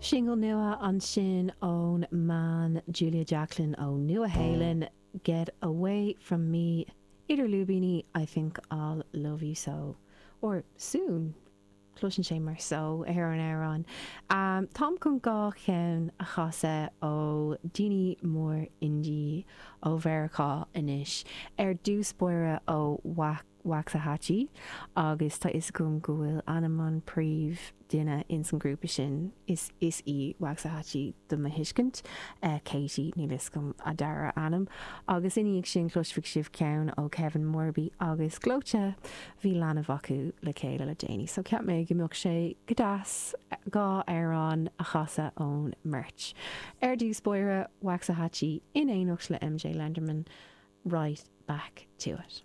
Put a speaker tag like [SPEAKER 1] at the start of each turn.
[SPEAKER 1] Singil nua ansin ón mbean Julia Jacklin ó Nua Shéalainn, Get Away From Me, idir lúibíní, I Think I'll Love You So, or Soon, cloiseann sé mar so ar an amhrán. Táim chun 2 cheann a chasadh ó daoine mór indie ó Mheiriceá anois. Ar dtús báire ó Waxahatchee agus tá fhios agam go bhfuil ainm an príomh duine ins an grúpa sin, is is í Waxahatchee do mo thuiscint, Katie, níl fhios agam a dara ainm. Agus ina dhiaidh sin cloisfidh sibh ceann ó Kevin Morby agus Gleoite, bhí leanbh acu le chéile le déanaí so cheap mé go mbeadh sé go deas 2 amhrán a chasadh ón mbeirt. Ar dtús báire, Waxahatchee in éineacht le MJ Lenderman, Right Back To It.